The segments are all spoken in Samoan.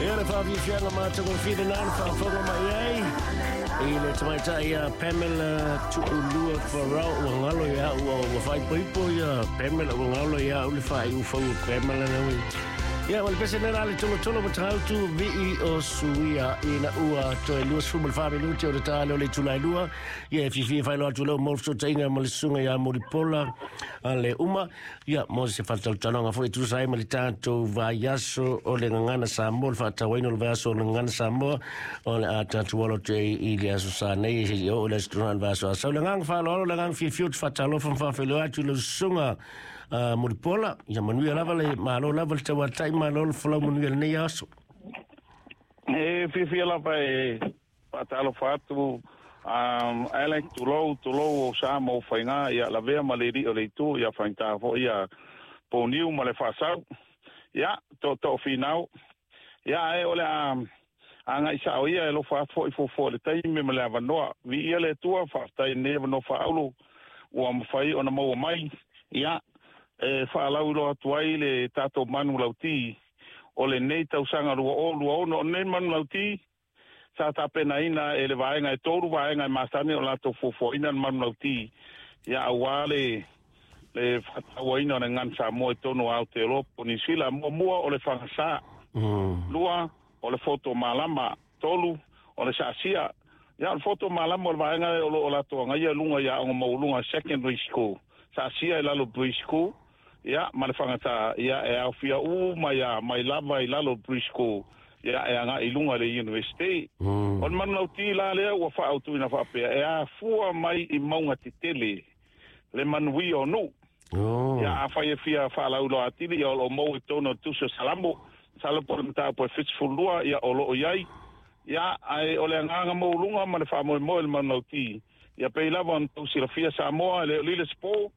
Ia le faafiafiaga matagofie lena le faafofoga mai ai i le tamaitai ia Pamela Tu'ulua Farrell. Ua galo ia au, ua faaipoipo ia Pamela, ua galo ia au le faaiu fou o Pamela na. Ia, ma le pese nela le tolotolo ma tagautu vi'i o suia ina ua toe 24 minuti o le ta lea o le itula e 2. Ia, e fiafia e faailoa atu leo mo le fesootaiga ma le susuga ia Mulipola a le uma. Ia, mo se faatautaloga foi e tusa ai ma le tatou vaiaso o le Gagana Samoa, le faatauaina o le vaiaso o le Gagana Samoa, o le a tatou alo atu ai i le aso sa nei, seia oo i le aso Toonai o le vaiaso a sau. Le agaga faaaloalo, le agaga fiafia ou te faatalofa ma faafeiloai atu i lau susuga Mulipola. Ia manuia lava le malo lava le tauatai, malo le folau manuia lenei aso. E fiafia lava e faatalofa atu, Alec, tulou, tulou o sa ma ou faiga, ia lavea ma le alii o le itu, ia faigata foi ia pouniu ma le faasau, ia tootoo finau, ia ae o le a agai sao ia e alofa atu foi fuafua i le taimi ma le avanoa. Viia le Atua, faafetai i lenei avanoa faaulu ua mafai ona maua mai, ia e faalauiloa atu ai le tatou manulauti o lenei tausaga 2026. O lenei manulauti sa tapenaina e le vaega e tolu vaega e masani o latou fuafuaina le manulauti, ia aua le faatauaina o le Gagana Samoa i totonu o Aotearoa po o Niu Sila. Muamua o le fagasā, lua o le foto malama, tolu o le saasia. Ia, o le foto malama o le vaega lea o lo o latou agaia i luga i aoga maualuga, secondary school, saasia i lalo pre-school, ia ma le fagatā, ia e aofia uma ia mai lava i lalo pre-school, ia e agai i luga i le university. O le manulauti la lea ua faaautuina faapea, e afua mai i mauga tetele le manuia o nuu. Ia, afai e fia faalauiloa atili, ia o lo o maua i totonu o le tusi o Salamo, masalo po o le mataupu e 72, ia o lo o i ai. Ia, ae o le agaga maualuga ma le faamoemoe o le manulauti, ia pei lava ona tou silafia Samoa, e le o lile se po,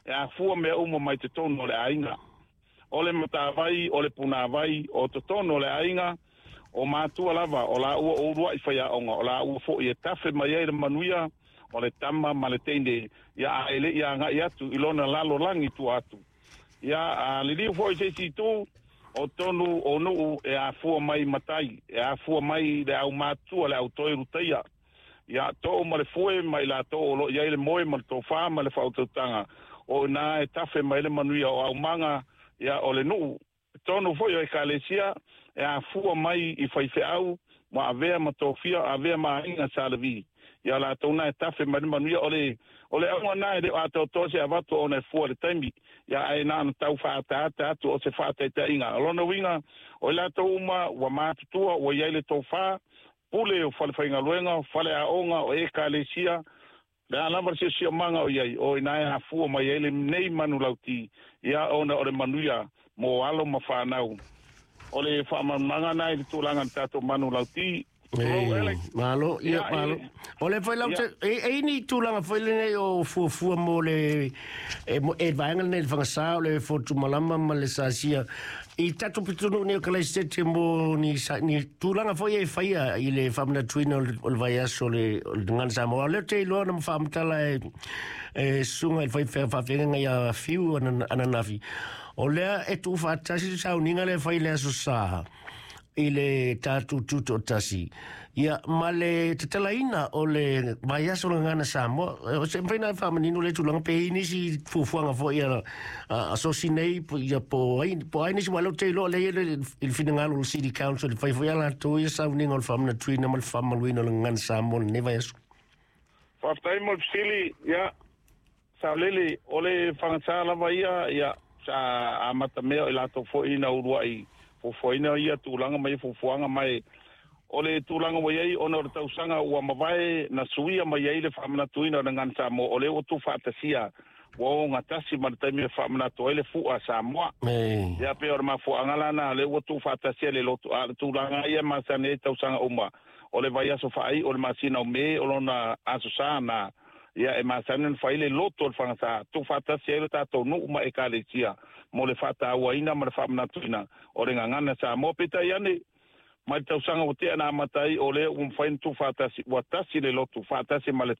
e afua mea uma mai totonu o le aiga. O le matavai, o le punavai, o totonu o le aiga, o matua lava, o laua o uluai faiaoga, o laua foi e tafe mai ai le manuia o le tama ma le teine, ia a e le i agai atu i lona lalolagi tua atu. Ia, a liliu foi i se isi itu, o totonu o nuu e afua mai matai, e afua mai le aumātua, le autoe lutaia. Ia, too ma le fue ma i latou o lo o i ai le moe ma le tofa ma le faautautaga, o i ina e tafe mai le manuia o aumaga, ia, o le nuu. Totonu foi o ekalesia, e afua mai i faifeau, ua avea ma tofia, avea ma aiga Sa Levi. Ia latou na e tafe mai le manuia. O le auga na e le o atoatoa se avatu ona e fua i le taimi, ia ae na ona tau faaataata atu o se faataitaiga. O lona uiga, o i latou uma ua matutua, ua i ai le tofa, pule o falefaigaluega, o faleaoga, o ekalesia, le a lava le siosiomaga o i ai, o i ina e afua mai ai lenei manulauti, ia ona o le manuia mo alo ma fanau. O le faamalamalamaga lena i le tulaga o le tatou manulauti. Tulou, Alex. Malo, ia, malo. O le foi lau te, e ni tulaga foi lenei o fuafua mo le, e vaega lenei le fagasā o le fotu malama ma le sasia. I tatou pitonuu nei o Kalaisete mo ni, ni tulaga foi e faia i le faamanatuina o le vaiaso o le Gagana Samoa. O lea te iloa na faamatala e susuga i le faafeagaiga ia Fiu ananafi. O lea e tuufaatasi le sauniga lea e fai i le aso Sa i le tatou tutoatasi, ia, ma le tatalaina o le vaiaso o le Gagana Samoa. O se mafai ona e faamanino lea tulaga pe i ai nisi fuafuaga foi a sosi nei, ia po ai nisi, aua o lea ou te iloa o lea e i ai le finagalo o le City Council e fai foi a latou ia sauniga o le faamanatuina ma le faamamaluina o le Gagana Samoa i lenei vaiaso. Faafetai mo le fesili, ia, Saolele, o le fagatā lava ia, ia, sa amata mea o i latou foi na uluai fuafuaina ia tulaga ma ia fuafuaga, ma e o le tulaga ua i ai ona o le tausaga ua mavae na suia mai ai le faamanatuina o le Gagana Samoa, o lea ua tuufaatasia, ua ogatasi ma le taimi e faamanatu ai le Fu'a Samoa. Ia, pei o le mafuaaga la na, lea ua tuufaatasia le lotu, a o le tulaga ia e masani ai tausaga uma, o le vaiaso faaiu o le masina o Me, o lona Aso Sa na, ia e masani ona fai le lotu o le fagasā, tuufaatasi ai le tatou nuu ma ekalesia mo le faatauaina ma le faamanatuina o le Gagana Samoa. Peitai ane, mai le tausaga ua tea na amata ai, o lea ua mafai ona tuufaatasi, ua tasi le lotu faatasi ma le